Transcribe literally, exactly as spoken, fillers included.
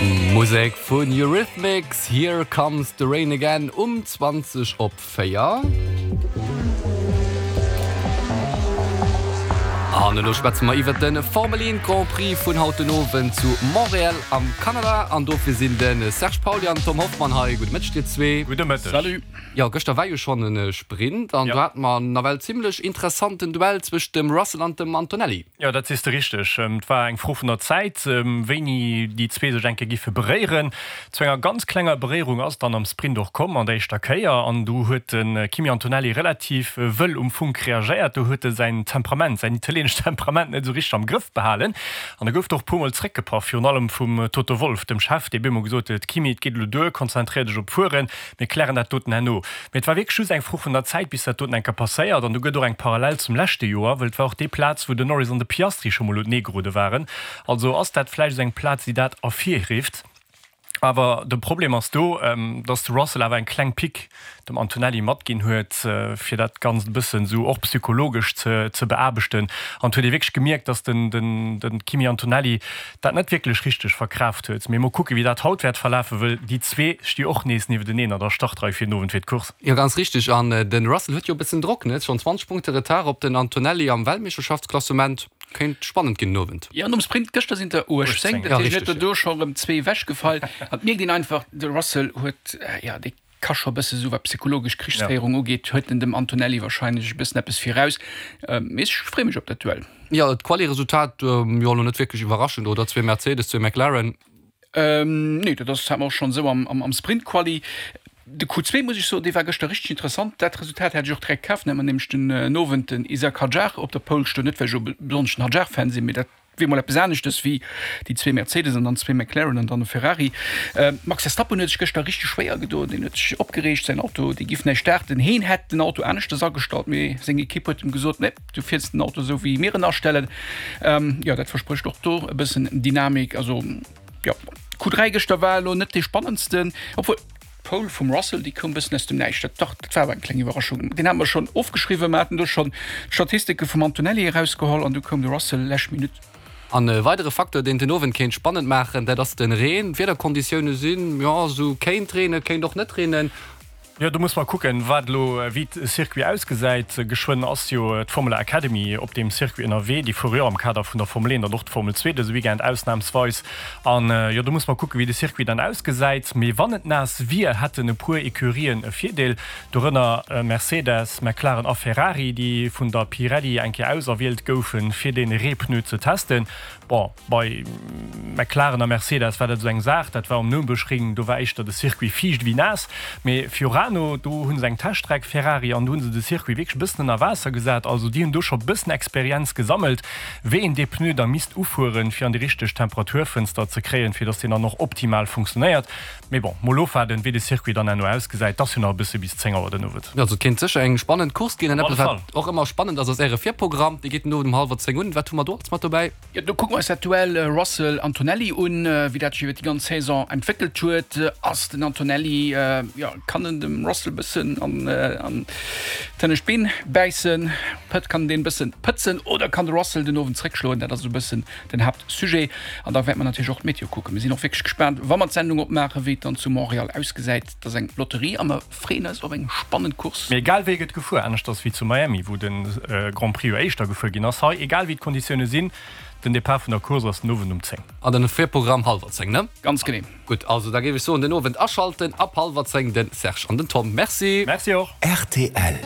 Musek vun Eurythmics, Here Comes the Rain Again um zwanzeg op véier. An elo schwätze mer iwwert de Formel een Grand Prix vun haut den Owend zu Montréal am Kanada. An dofir sinn de Serge Pauly an Tom Hoffmann hei. Gudde Mëtteg dir zwee. Gudde Mëtteg. Salut. Jo, gëschter war jo schonn e Sprint an do hate mer nawell zimmlech interessanten Duell zwëscht dem Russell an dem Antonelli. Jo, dat sees de richteg. Et war eng Fro vun der Zäit, wéini déi zwee sech eng Kéier giffe beréieren. Zu enger ganz klenger Beréierung ass et dann am Sprint och komm, an der éischter Kéier. An do huet de Kimi Antonelli relativ wëll um Funk reagéiert. Do huet e säin Temperament, säin italieenescht Temperament net esou richteg am Grëff behalen. An da gouf et och e puermol zréckgepaff, virun allem vum Toto Wolff, dem Chef, dee bemol gesot huet, Kimi, et geet elo duer, konzentréier dech op d'Fueren, mir klären dat doten herno. Mee et war wierklech just eng Fro vun der Zäit, bis dat doten eng Kéier passéiert. An do gëtt och eng Parallel zum leschte Joer, well et war och déi Plaz, wou den Norris an de Piastri scho mol untenee gerode waren. Also ass dat vläicht esou eng Plaz, déi dat ervirrifft. Awer de Problem ass do, dass de Russell awer eng kleng Pick dem Antonelli matginn huet, fir dat Ganzt e bëssen esou och psychologesch ze ze beaarbechten. An et huet ee wierklech gemierkt, dass den den de Kimi Antonelli dat net wierklech richteg verkraaft huet. Mee mol kucken, wéi dat haut wäert verlafen, wëll déi zwee sti och nees niewenteneen an der Startrei fir den Owend fir d'Course. Jo, ganz richteg. An de Russell huet jo e bëssen Drock, ne? Schonn zwanzeg Punkte Retard op den Antonelli am Weltmeeschterschaftsklassement. Kéint spannend ginn den Owend. Jo, nom Sprint gëschter sinn der uechtzéng, dat heescht, huet der do scho rëm zwee ewechgefall. An et mierkt een einfach, de Russell huet, jo, dee ka scho e bësse sou, wat psychologesch Krichsféierung ugeet, huet en dem Antonelli warscheinlech e bëssen eppes viraus. Mee ech freeë mech op dat Duell. Jo, d'Quali-Resultat, jo, elo net wierklech iwwerraschend, oder? Zwee Mercedes, zwee McLaren. Nee, dat ass, hat mer och schonn esou am Sprint-Quali. De Q zwee, muss ech soen, dee war gëschter richteg interessant. Dat Resultat hätt ech och direkt kaf. Dann hätt mer nämlech den Owend den Isack Hadjar op der Pole stoen. Net well ech elo besonnesch den Hadjar-Fan sinn, mee dat wier mol eppes aneschtes wéi déi zwee Mercedes an dann zwee McLaren an dann e Ferrari. Max Verstappen huet sech gëschter richteg schwéier gedoen. Deen huet sech opgereegt, säin Auto, dee giff näischt starten. Heen hätt den Auto aneschtes agestallt, mee seng Ekipp huet em gesot, Nee, du fiers den Auto esou wéi mir en astellen. Jo, dat versprécht och do e bëssen Dynamik. Also jo, Q dräi gëschter war elo net dee spannendsten, obwuel d'Pole vum Russell, déi koum bëssen aus dem Näischt. Dat, dach, dat war awer eng kleng Iwwerraschung. Deen hate mer schonn ofgeschriwwen, mer haten do schonn d'Statistike vum Antonelli erausgeholl an du koum de Russell lescht Minutt. An e weidere Facteur, deen den Owend kéint spannend maachen, dat ass de Reen. D'Wiederkonditioune sinn, jo, esou kéint reenen, kéint och net reenen. Jo, do muss mer kucken, wat elo, wéi de Circuit ausgesäit. Geschwënn ass jo d'Formula Academy op deem Circuit ënnerwee. Déi fuere jo am Kader vun der Formel eent an och d'Formel zwee dëse Weekend ausnamsweis. An jo, do muss mer kucken, wéi de Circuit dann ausgesäit. Mee wann et naass wier, hätten e puer Ecurien e Virdeel, dorënner Mercedes, McLaren a Ferrari, déi vun der Pirelli eng Kéier auserwielt goufen, fir dee Reepneu ze testen. Bon, bei McLaren a Mercedes war dat esou eng Saach, dat war um Nürburgring, do war éischter de Circuit fiicht ewéi naass. Mee Fiorano, do hu se eng Teststreck, Ferrari, an do hu se de Circuit wierklech e bëssen ënner Waasser gesat. Also déi hunn do scho e bëssen Experienz gesammelt, wéi een dee Pneu da misst ufueren, fir an déi richteg Temperaturfënster ze kréien, fir datt deen dann och optimal funktionéiert. Mee bon, mol ofwaarden, wéi de Circuit dann herno ausgesäit. 't ass jo nach e bësse bis zéng Auer den Owend. Also et kéint sécher eng spannend Course ginn. An Op alle eppes, wat Fall. och ëmmer spannend ass, ass Äre Virprogramm. Dee geet den Owend um hallwer zéng un. Wat hu mer do alles mat dobäi? Jo, do kucke mer eis dat Duell Russell-Antonelli un, wéi dat sech iwwer déi ganz Saison entwéckelt huet. Ass den Antonelli, jo, kann en dem Russell bëssen an d'hënnescht Been bäissen? Pëtt, kann en deen bëssen pëtzen oder kann de Russell den Owend zréckschloen? Dat ass esou e bëssen den Haaptsujet. An da wäerte mer natierlech och d'Meteo kucken. Mir sinn och wierklech gespaant, wa mer d'Sendung opmaachen, wéi et dann zu Montréal ausgesäit. Et ass eng Lotterie a mer freeën eis op eng spannend Course. Mee egal wéi gëtt gefuer, aneschters wéi zu Miami, wou de Grand Prix jo éischter gefuer ginn ass. Hei, egal wéi d'Konditioune sinn, Den Depart vun der Course ass den Owend um zéng. An den Virprogramm hallwer zéng, ne? Ganz genee. Gutt, also da géif ech soen, den Owend aschalten ab hallwer zéng, den Serge an den Tom. Merci. Merci och. Rtl.